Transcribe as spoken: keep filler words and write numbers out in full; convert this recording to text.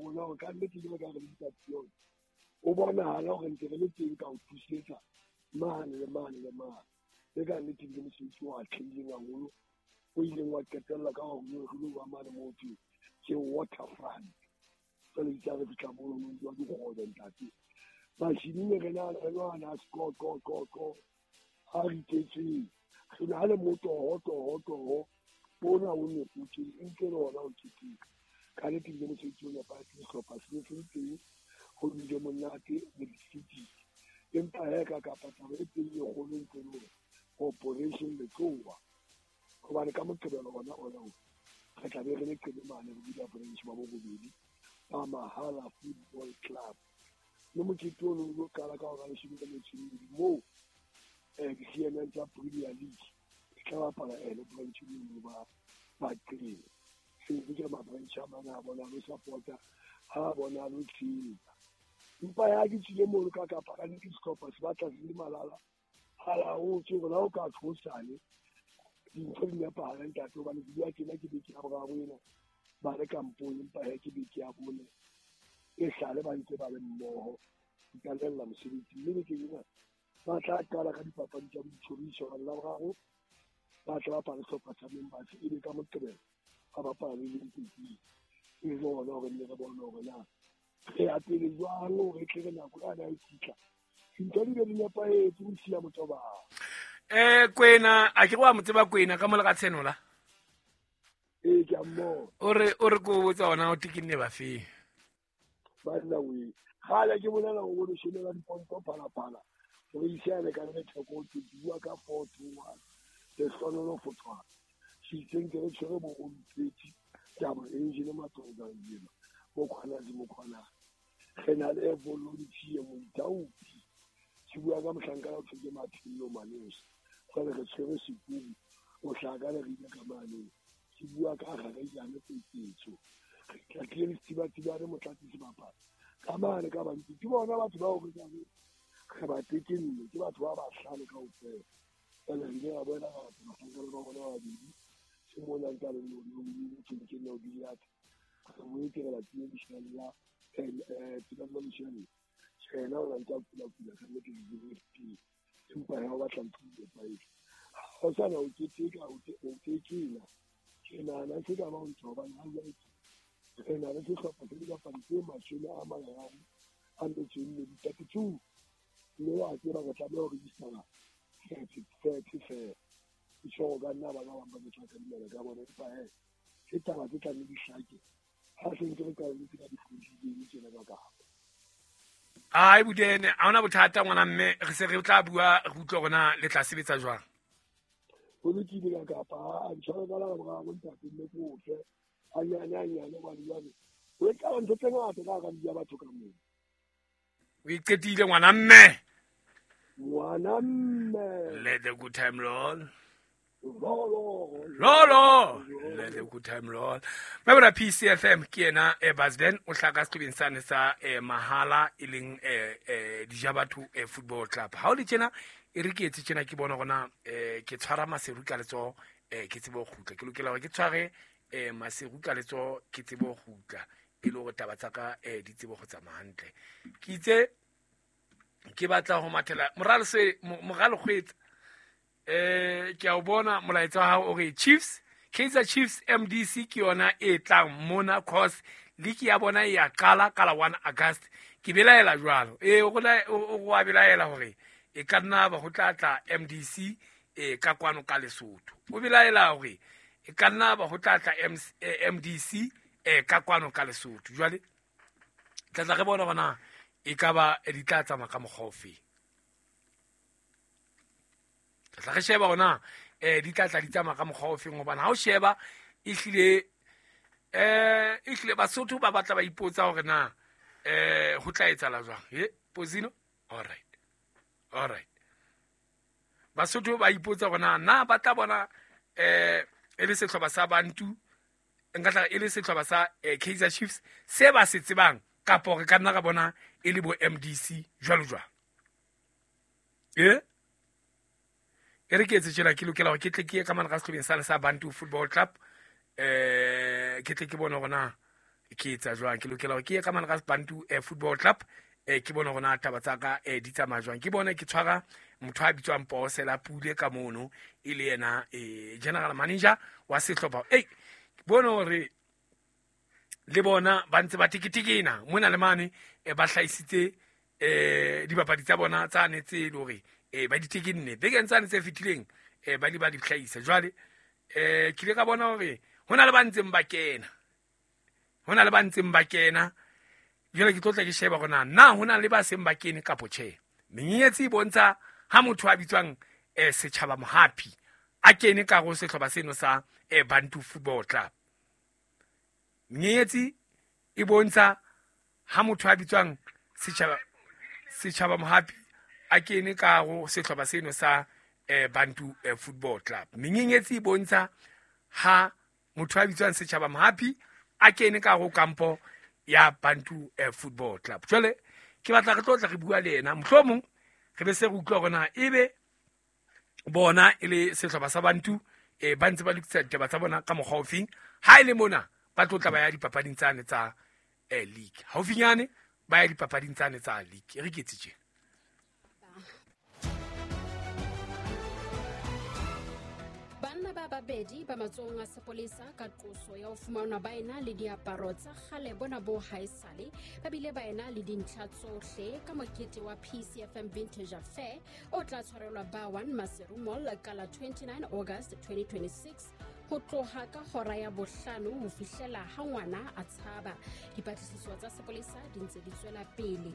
rona hore ka nnete jwalo ka re le dipapione o bonahala hore ntse re le teng ka ho thusetsa mane le mane le mane. Le ka nnete ke mosebetsi o atlehileng haholo, o ileng wa qetella ka hore re lo ba mane moo thweng ke waterfront. Jwale itse ha re fihla mono ho ntswa dikgobe ntate. Machine ne re na re lwana score ko ko ko ha re iketseng. Re na le motoho toho toho bona o ne o tse nke le ona o keteka. Ka nnete ke mosebetsi o nepahetseng, sehlopha se ne se le teng, ho bile monate le di-cities. Empa he ka kapa taba e teng e kgolo ntse le hore Operation Letloa, hobane ka Moqebelo ona ona o re tla be re le Qelemane re bula branch ba borobedi ba Mahala Football Club. Mme mokete ono o lo qala ka hora ya leshome le metso e mmedi moo eh di-C N N tsa Premier League di tla bapala ene branch eno ba ba Qele. Se ntse ke ma-branch a mang a bona lo support-a, ha bona lo tshehetsa. Empa ya ke tswile mono ka kapa ka nnete sehlopha se batla se le malala a laotswe hore ha o ka tshosane dintho di nepahale ntate, hobane ke bua tjena ke beke ya boraro ena ba le kampong, empa he ke beke ya bone e sale ba ntse ba le mmoho di qalella mosebetsi. Mme bekeng ena ba tla qala ka dipapadi tsa boitjhoriso hobane Laboraro ba tla bapala sehlopha sa Members, ebe ka Moqebelo ba bapala le Limpopo. E le hona hore nne re bone hore na re ya pele jwang hore tle re nako ena e fihla dintho di be di nepahetse ho siya motho ba. Eh Kwena a ke wa mo tseba Kwena ka mola ka tshenola. Ee ke a mmona. O re o re ko botsa ona o tikinne ba fe. Banna we gale ke bolela go le shomela diponto phala phala re isane ka re theko ke bua ka four two one le hlonono fotswana sitseng ke re tshwere bo o mpetsi taba engine matsonga yena bo khona di mo khona re na le volunteer moithaopi ke bua ka mohlanka o thwe ke Maphelo Maneso jwale re tshwere sekubu o hlaka le re ile ka mane ke bua ka gare jane petsetso re tla tlile Setibatibane re motlatsi sebapadi ka mane ka bantsi ke bona batho bao re ka re ba tekenne ke batho ba bahlano kaofela. Jwale re ile ra bona batho bahlanka ba bona ba babedi se mona ntse a le motho ke nna o biliata re boetse re latile leshalla tebello leshalla yena o ntse a kula kula ka nnete ke di empa ha o batla ntho e nepahetse ha o sana o keteka o tekena ke nahana se ka ba o ntho hobane ha jwale re na le sehlopha se dibapadi tse mashome a mararo a metso e mmedi thirty two mme wa tseba re tlameha ho register-a thirty thirty fela. Ke tjho hore ka nna bana ba bang ba tla kadimela ka bona empa he ke taba tse tlang di hlake ha se ntse re qaletse ka dikgwedi tjena ka kapa. Ai Budene ha ona bothata ngwana mme re se re tla bua re utlwe hore na le tla sebetsa jwang. Ho lokile ka kapa a ntshware ka la boraro ntate mme ke o fe hanyane hanyane hobane jwale ho etsahala ntho tse ngata ka hara di batho ka moo. O iqetile ngwana mme. Ngwana mme. Let the good time roll. Lolo. Lolo. Let the good time roll. Mabra P C F M ke yena e Basden o hlaka sehlobeng sane sa eh, Mahala e leng eh, eh, Dijabatho eh, Football Club. Ha o le tjena e re ke etse tjena ke bona gona eh, ke tshwara Maseru ka letsoho eh, ke tsebe ho kgutla. Ke lokela hore ke tshware eh, Maseru ka letsoho ke tsebe ho kgutla e le hore taba tsa ka eh, di tsebe ho tsamaya hantle. Ke itse ke batla ho mathela moralo se moralo kgwetsa eh ke a o bona molaetsa wa hao o re Chiefs Kaizer Chiefs M D C ke yona e tlang mona cause league ya bona e ya qala ka la one August. Ke belaela jwalo e o o a belaela hore e ka nna ba ho tla tla M D C e ka kwano ka Lesotho. O belaela hore e ka nna ba ho tla tla M D C e ka kwano ka Lesotho. Jwale tla tla re bona hore na e ka ba di tla tsamaya ka mokgwa ofe. Tla re sheba hore na eh di tla tla di tsamaya ka mokgwa ofe hobane ha o sheba e hlile eh e hlile Basotho ba batla ba ipotsa hore na eh ho tla etsahala jwang. He Pozino all right all right Basotho ba ipotsa hore na na ba tla bona eh e le sehlopha sa Bantu nka tla e le sehlopha sa eh, Kaizer Chiefs se ba se tsebang kapa re ka nna ra bona e le bo M D C jwalo jwalo. Eh e re ke etse tjena ke lokela hore ke tle ke ye ka mane ka sehlobeng sane sa Bantu Football Club eh ke tle ke bone hore na ke etsa jwang. Ke lokela hore ke ye ka mane ka Bantu eh, Football Club, eh, ke bone hore na taba tsa ka eh, di tsamaya jwang. Ke bone ke tshwara motho a bitswang Posela Pule ka mono, e le yena eh, general manager wa sehlopha. Ei, ke bone hore le bona ba ntse ba teketekena mona le mane, eh, ba hlahisitse eh dibapadi tsa bona tsa ne tse le hore eh ba di tekenne bekeng tsane tse fetileng, eh ba di ba di hlahisa. Jwale eh ke ile ka bona hore hona le ba ntseng ba kena, hona le ba ntseng ba kena. Jwale ke tlo tla ke sheba hore na na hona le ba seng ba kene kapo tjhe. Menyenyetsi e bontsha ha motho a bitswang eh Setjhaba Mohapi a kene ka go sehlopha seno sa eh Bantu Football Club. Menyenyetsi e bontsha ha motho a bitswang Setjhaba Setjhaba Mohapi a kene ka go sehlopha seno sa eh Bantu eh, Football Club. Menyenyetsi e bontsha ha motho a bitswang Setjhaba Mohapi a kene ka go kampo ya Bantu eh, Football Club. Jwale ke batla re tlo tla re bua le yena, mohlomong re be se re utlwa hore na ebe bona e le sehlopha sa Bantu eh ba ntse ba lokisa ditaba tsa bona ka mokgwa ofeng. Ha e le mona ba tlo tla ba ya dipapading tsane tsa eh, league haufinyane, ba ya dipapading tsane tsa league. E re ke tje. Banna ba babedi ba matsohong a sepolesa ka qoso ya ho fumanwa ba ena le diaparo tsa kgale bona bo haesale, ba bile ba ena le dintlha tsohle ka mokete wa P C F M Vintage Affair o tla tshwarelwa ba one Maseru Mall ka la twenty-nine August twenty twenty-six ho tloha ka hora ya bohlano ho fihlela ha ngwana a tshaba. Dipatlisiso tsa sepolesa di ntse di tswela pele.